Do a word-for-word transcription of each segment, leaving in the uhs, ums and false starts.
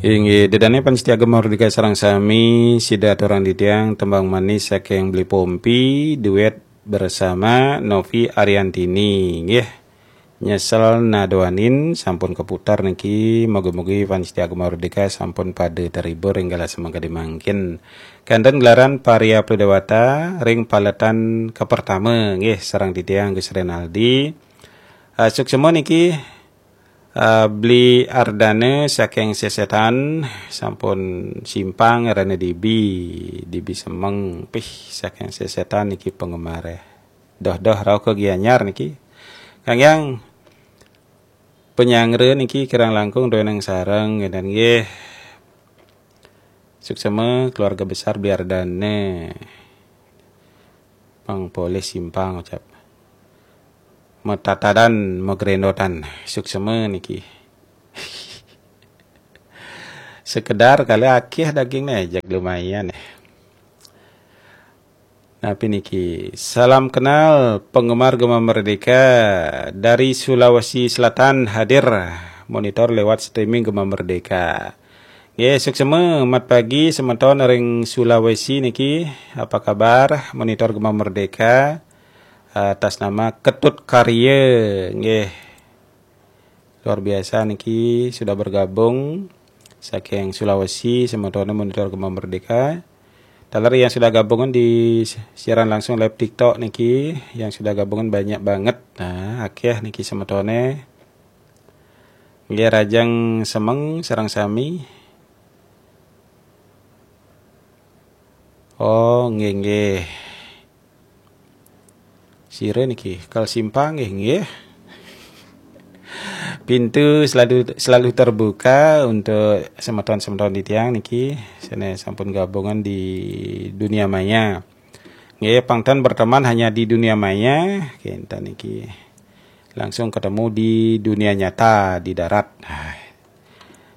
Inggih, ida dané pamiarsa Gema Merdeka sareng sami, sida aturang titiang tembang manis saking Beli Pompi, duet bersama Novi Ariantini. Nggih. Nyesel nadoanin sampun keputar niki, mugi-mugi pamiarsa Gema Merdeka sampun pada terhibur ing galah semangkadi mangkin. Kanten gelaran Paria Pradewata ring paletan kapertama, nggih, sareng titiang Gus Renaldi. Ah, suksema niki, ah, Beli Ardana saking Sesetan, sampun simpang rena dibi, dibi semeng, pih, saking Sesetan niki penggemare. Doh-doh rauh ke Gianyar niki. Kang Yang, panyanggra niki kirang langkung doeneng sareng, ngénten nggih. Suksema keluarga besar Beli Ardana. Pang polih simpang ucap. Matatadan, magrendotan. Suksema niki. Sekedar kali akeh dagingnya, jak lumayan. Napi niki? Salam kenal penggemar Gema Merdeka dari Sulawesi Selatan hadir monitor lewat streaming Gema Merdeka. Nggih, suksema, mat pagi semeton ring Sulawesi niki. Apa kabar? Monitor Gema Merdeka atas nama Ketut Karya. Nggih. Luar biasa niki sudah bergabung saking Sulawesi, semetone monitor Gema Merdeka. Taler yang sudah gabungan di siaran langsung live TikTok niki, yang sudah gabungan banyak banget. Nah, akeh niki semetone. Nggih, rahajeng semeng sareng sami. Oh, nggih, nggih. Sira niki, kal simpang nggih, nggih. Pintu selalu selalu terbuka untuk semeton-semeton titiang niki, sane sampun gabungan di dunia maya. Nggih, pang ten berteman hanya di dunia maya, kinten niki. Langsung ketemu di dunia nyata di darat.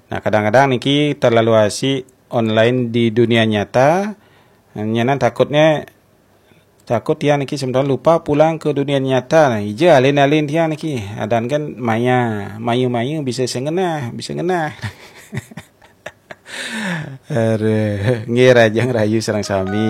Nah, kadang-kadang niki terlalu asik online di dunia nyata, nyanan takutnya, takut tiang niki semeton lupa pulang ke dunia nyata. Nah, ija alin-alin tiang niki. Adan kan maya, mayu-mayu bisa sengenah, bisa ngenah. Aduh, nggih, rahajeng rahayu sareng sami.